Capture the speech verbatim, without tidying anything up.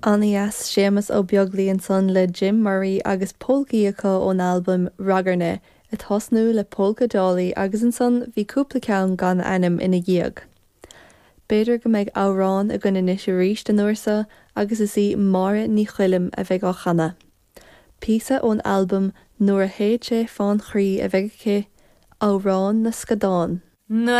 An-dheas Séamus Ó Beaglaoich ansan le Jim Murray agus polcaí acu ón albam Ragairne ag tosnú le Polca Dolly agus ansan bhí cúpla ceann gan ainm ina dhiaidh. B'fhéidir go mbeidh amhrán againn anois arís an uair seo agus is í Máire Ní Choilm a bheidh á chanadh. Píosa ón albam Nuair a théid sé fán chroí a bheidh aici, Amhrán na Scadán. Nuair